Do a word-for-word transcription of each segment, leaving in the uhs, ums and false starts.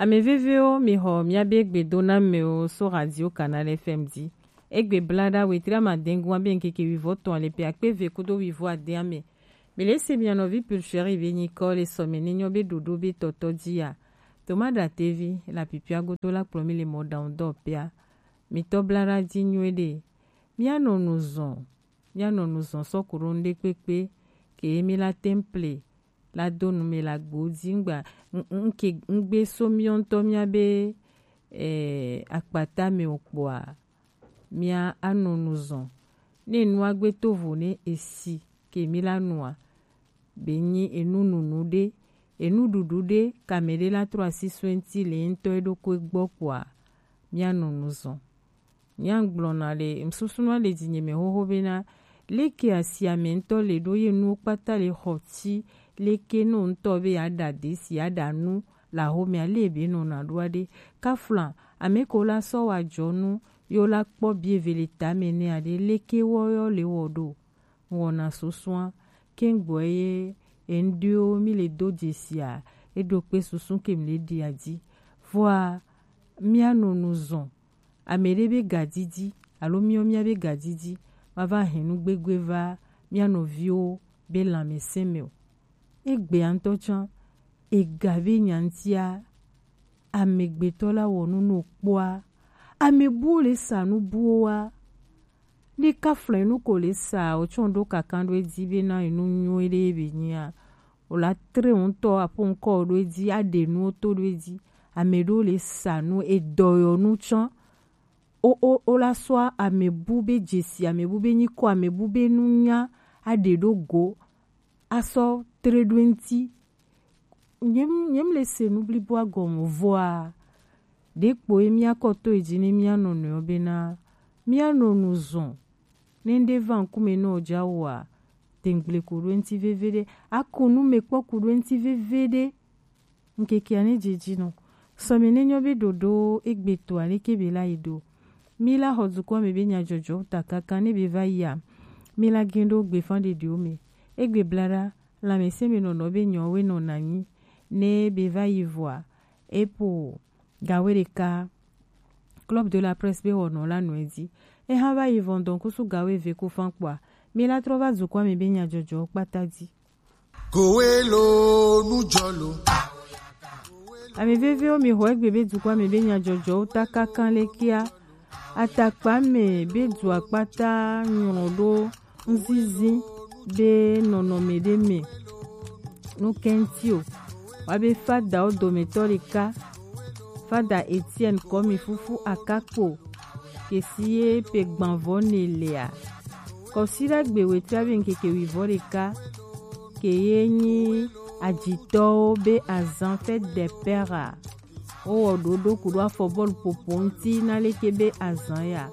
Ame vevewo, mi xɔ miabe gbedonamewo so Radio Canal F M dzi. Egbe blada wetri amadɛngun abe ŋkeke wivɔtɔn ale pe akpe eve kudo wivɔ adeame. Mi le se mia nɔvi Pulcheri be nyikɔ le sɔme ne nyɔ be ɖoɖo be tɔtɔ dzi ya. Toma Ɖatevi la pipia godo la kplɔ mi le mɔɖaŋudɔwɔƒea. Mitɔ blada dzi nyuie ɖe. Mianɔ nu zɔn. Mianɔ nu zɔn sɔ ku ɖo ŋɖe kpekpe ke mi la temple la do nu me la gbo dzi ŋgba ŋ- ŋ- ŋke ŋgbe so miɔ ŋutɔ mia be eh, akpata me o kpɔa mia anɔ nu zɔn. Ne nua gbe to vo ne esi ke mi la nua be nyi enu nunu ɖe, enu ɖuɖu ɖe kame ɖe la trɔ asi so eŋti le ŋutɔ eɖokui gbɔ kpɔa mianɔ nu zɔn. Nyagblɔna le ŋsusuna le dzinyeme xoxo bena leke asi ame ŋutɔ le ɖo ye nuwo kpata le xɔ ti leke no ŋutɔ be yeaɖa desi yeaɖa nu le axomea le be nɔna ɖoa ɖe. Kafla ame ko la sɔ wa jɔ nu yo la kpɔ bi eve le tame ne aɖe leke wɔ yɔ le wɔ ɖo. Ŋwɔna susua kengboe ye eŋɖewo mi le do jesia eɖo kpe susu ke mi le ɖia dzi. Vɔa mianɔ nu zɔn. Ame ɖe be gadidi alo miɔ mia be gadidi ma va hɛn nu gbegbe va mia nɔviwo be lãmesẽ me o. Egbea ŋutɔ tsã ega be nya ŋutia amegbetɔ la wɔ nu no kpɔa ame buwo le sa nu buwo wa. Ne kafla enu ko le sa o tsɔ ɖo kaka ɖo edzi be na enu nyuie ɖe be nyia o la tre ŋutɔ aƒo ŋkɔ ɖo edzi aɖe nuwo to ɖo edzi. Ame ɖewo le sa nu edɔyɔnu tsã o o o la sɔ amebu be dzesi amebu be nyikɔ amebu be nunya aɖe ɖo go asɔ tre ɖo eŋti. Nyem nyem le se nu bliboa gɔme vɔa ɖekpo ye miakɔ to edzi ne mianɔ nɔewo bena mianɔ nu zɔn. Ne ŋɖe va ŋkume nɔ dza wɔa, dengble ko ɖo eŋti veveɖe. Aku nu me kpɔ ku ɖo eŋti veveɖe. Ŋkekea ne dze dzi nɔ. Sɔme ne nyɔ be ɖoɖo egbe to aleke be la yi ɖo. Mi la xɔ dukɔa me be nyadzɔdzɔ ta kaka ne be va yia. Mi la gen ɖo gbefan ɖeɖewo me. Egbe blaɖa lãmesẽ me nɔnɔ be nyɔwe nɔ nanyi. Ne be va yi vɔa, epo gawe ɖeka Club de la Presse be wɔnɔ la nɔ edzi. Eha va yi vɔn dɔn kusu gawe ve ku fan kpɔa. Mi la trɔ va dukɔa me be nyadzɔdzɔ kpata dzi. Kowe lo nu jɔ lo. Ame vevewo mi xɔ egbe be dukɔa me be nyadzɔdzɔwo ta kankan le kia. Atakpa me be dua kpata nyrɔ ɖo ŋzizi be nɔnɔme ɖe me. Nu kɛnti o. Wa be fadawo dometɔ ɖeka, fada Etienne Kɔmi Fufu Akakpo, kesi ye pe gbanvɔ ne lea. Kɔsiɖagbe wetria be ŋkeke wivɔ ɖeka, ke ye nyi ajitɔwo be azan fête des pères a. Wowɔ ɖoɖo ku ɖo afɔ bɔlu ƒoƒo ŋuti na leke be azan ya.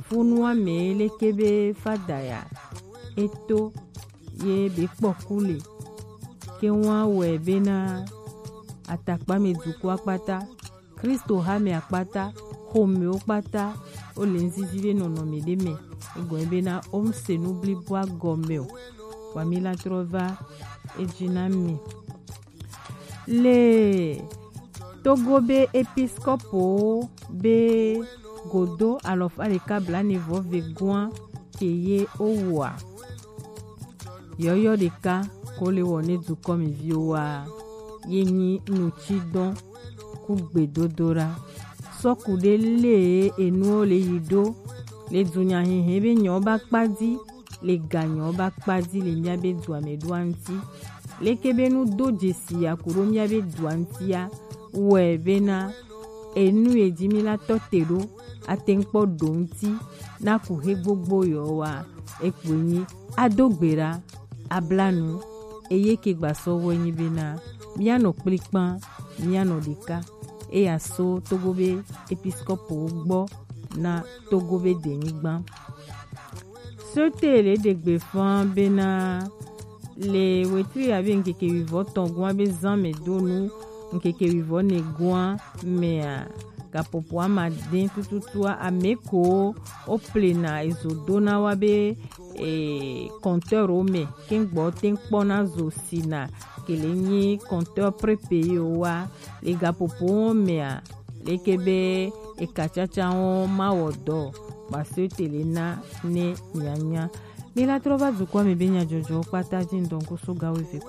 Funua me leke be fada ya. Eto ye be kpɔ ku le. Ke wa wɛ bena atakpa me dukɔ akpata, Kristo ha me akpata, xomewo kpata, wo le ŋzizi be nɔnɔme ɖe me. Egɔme bena wo ŋse nu bliboa gɔme o. Wa mi la trɔ va edzi na mi. Le Togo be episkopowo be godo alɔfa ɖeka blaene vɔ ve goa ke ye wowoa. Yɔyɔ ɖeka ko le wɔ ne dukɔmeviwo wa ye nyi nutsidɔn ku gbedodoɖa. Sɔku ɖe le enuwo le yi ɖo le dunyahihi be nyɔ ba kpa di le ganyɔ ba kpa di le mia be dua me ɖoa ŋuti. Leke be nu do dzesi ya ku ɖo mia be dua ŋutia wɛ bena enu ye dzi mi la tɔ te ɖo ate ŋu kpɔ ɖo ŋuti na ku he gbogbo yɔ wa ekpoe nyi ado gbe ɖa abla nu eye ke gba sɔ wɛ nyi bena mia nɔ kplikpan mia nɔ ɖeka eya so Togo be episkopo gbɔ na Togo be denyigba. Sete le ɖegbe fan bena le wetri abe ŋkeke wivɔ tɔn goa be zan me do nu ŋkeke wivɔ ne goa mea gapopo ama den tututua ame ko wo plena ezo dona wa be e, compteur wo me kengbo ten kpɔna zo sina kele nyi compteur prépayé o wa le gaƒoƒo mea, leke be eka tsatsawo mawɔ dɔ o, ba se tele na ne mianya. Mi la trɔ va dukɔa me be nyadzɔdzɔwo kpata dzi ŋdɔ ŋku so gawo eve ko.